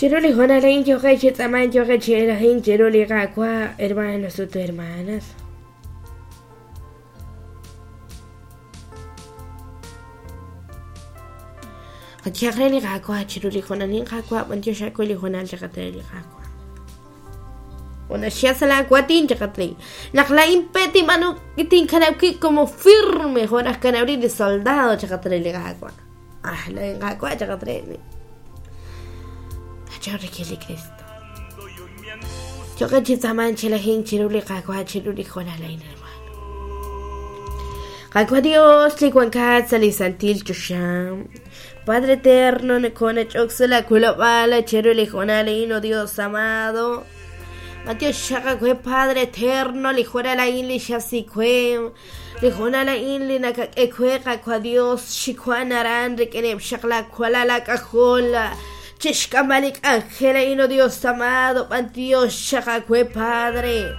Chiru li hoonal a'in yooqeb' chi tz'aamank yooqeb' chi elajink chiru li Qaawa', hermanos ut hermanas. Qayehaq re li Qaawa' chiru li hoonal a'in, Qaawa', b'antiox aawe li hoonal chaqat re li Qaawa'. Ona xya sa' laawatin chaqat re. Naq laa'in pe tinb'aanu tinkanab' wib' como firme jo' naj kanab' rib' li soldado chaqat re li Qaawa'. Ah, laa'in Qaawa' chaqat re. Achon rik'in li Cristo. Yo'qeb' chi tz'aamank chi lajink chiru li Qaawa' chiru li hoonal a'in, hermano. Qaawa' Dios li wankat sa' li santil choxa. Padre eterno, nokonach'ok sa' la wilob'aal chiru li hoonal a'in, oh Dios amado. Matiox xaq aawe, Padre eterno, li hoonal a'in li xasik we. Li hoonal a'in li nakak'e we, Qaawa' Dios, xiwank aran rik'ineb' xaq laawalal aak'ajol. Chixk'amb'al li k'anjel a'in, oh Dios amado, b'antiox xaq aawe, Padre.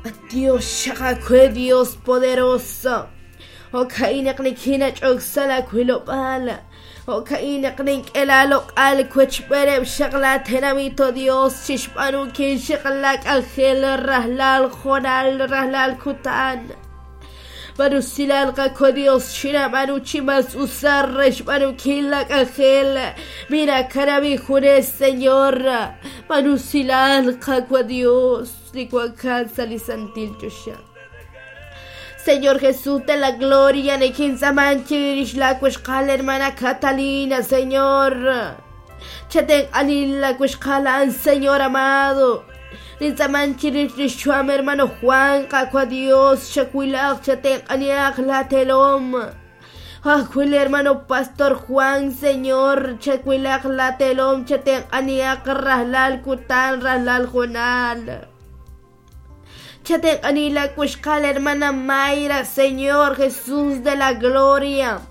B'antiox xaq aawe, Dios poderoso. Jo'ka'in naq nikinach'ok sa' laawilob'aal. Jo'ka'in naq nink'e laaloq'al wechb'eeneb' xaq laatenamit, oh Dios, chixb'aanunkil xaq laak'anjel rajlal hoonal, rajlal kutan. B'anusilal Qaawa' Dios, chinab'aanu chi mas usar re xb'aanunkil laak'anjel. Minakanab' injunes, Señor. B'anusilal Qaawa' Dios, li wankat sa' li santil choxa. Señor Jesús de la gloria, nikintz'aaman chirix laawixqal hermana Catalina, Señor. Chatenq'ani laawixqal a'an, Señor amado. Nintz'aaman chirix li xyu'am hermano Juan, Qaawa' Dios, chawilaq, chatenq'anihaq laatelom. Ajwi' li hermano Pastor Juan, Señor, chawilaq laatelom, chatenq'anihaq rajlal kutan, rajlal hoonal. Chatenq'ani laawixqal hermana Mayra, Señor Jesús de la gloria.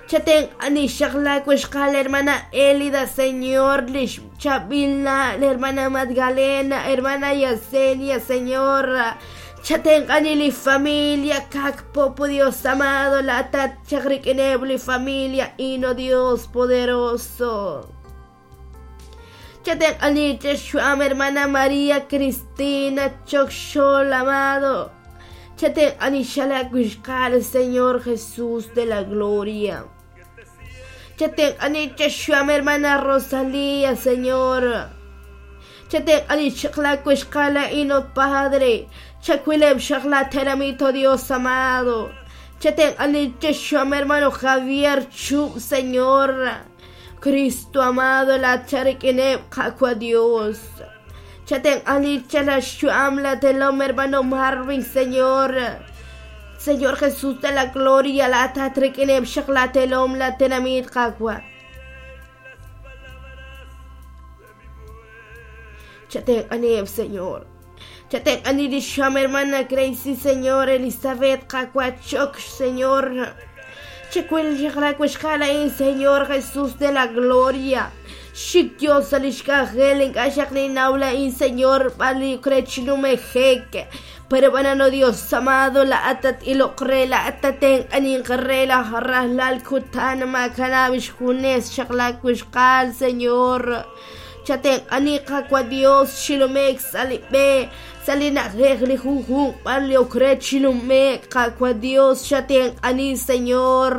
Chatenq'ani xaq laawixqal hermana Elida, Señor, lix chaab'il na' hermana Magdalena, hermana Yesenia, Señor. Chatenq'ani li familia Kak Popo, Dios amado, laatat chaq rik'ineb' li familia ino Dios poderoso. Chatenq'ani chexu'am hermana María Cristina Chokxol amado. Chatenq'ani xalaawixqal, Señor Jesús de la gloria. Chatenq'ani chexu'am hermana Rosalía, Señor. Chatenq'ani xaq laawixqal a'in, oh Padre. Chawileb' xaq laatenamit, oh Dios amado. Chatenq'ani chexu'am hermano Javier Chub, Señor. Cristo amado, la charik'ineb' Qaawa' Dios. Chatenq'ani chalaxyu'am latelom hermano Marvin, Señor. Señor Jesús de la gloria, la tatrik'ineb' xaq latelom latenamit Qaawa'. Chatenq'aniheb', Señor. Chatenq'ani li xyu'am hermana Gracie, Señor, Elizabeth, Qaawa' Chok, Señor. Chawil xaq laawixqal a'in, Señor Jesús de la gloria. Xik Dios sa' lix k'anjel ink'a' xaq ninnaw la'in, Señor, b'ar li rech numejek. Pero b'anano Dios amado, laa'at tat-iloq re, laa'at tatenq'aninq re laj rajlal kutan maakanab' xjunes xaq laawixqal, Señor. Chatenq'ani Qaawa' Dios chinume'k sa' li b'e, sa' li na'ajej li junjunq b'ar li ok re chinume'k, Qaawa' Dios, chatenq'ani, Señor.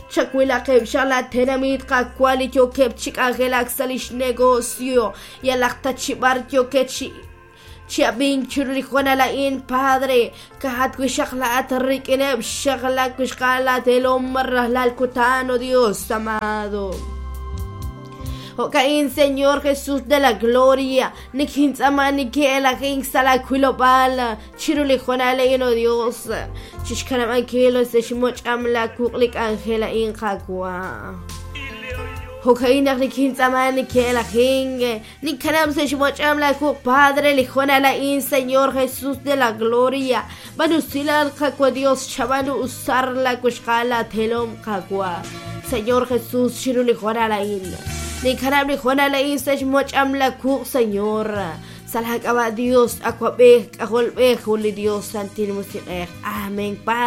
Chawilaqeb' xaq laatenamit, Qaawa' li yookeb' chi k'anjelak sa' lix negocio, yalaq ta chi b'ar yookeb' chi chi ab'ink chiru li hoonal a'in, Padre, ka'ajat wi' xaq laa'at rik'ineb' xaq laawixqal laatelom rajlal kutan, oh Dios amado. Jo'ka'in, Señor Jesús de la gloria, nikintz'aaman nikin'elajink sa' laawilob'aal chiru li hoonal a'in, oh Dios. Chixkanab'ankil sa' xmoch'am laawuq' li k'anjel a'in, Qaawa'. Jo'ka'in naq nikintz'aaman nikin'elajink, ninkanab' sa' xmoch'am laawuq', Padre, li hoonal a'in, Señor Jesús de la gloria. B'anusilal, Qaawa' Dios, chab'aanu usar laawixqal laatelom, Qaawa'. Señor Jesús, chiru li hoonal a'in. Ninkanab' li hoonal a'in sa' xmoch'am laawuq', Señor. Sa' laak'ab'a' Dios, Awab'ej, K'ajolb'ej, jun li Dios, Santil Musiq'ej. Amén, Padre.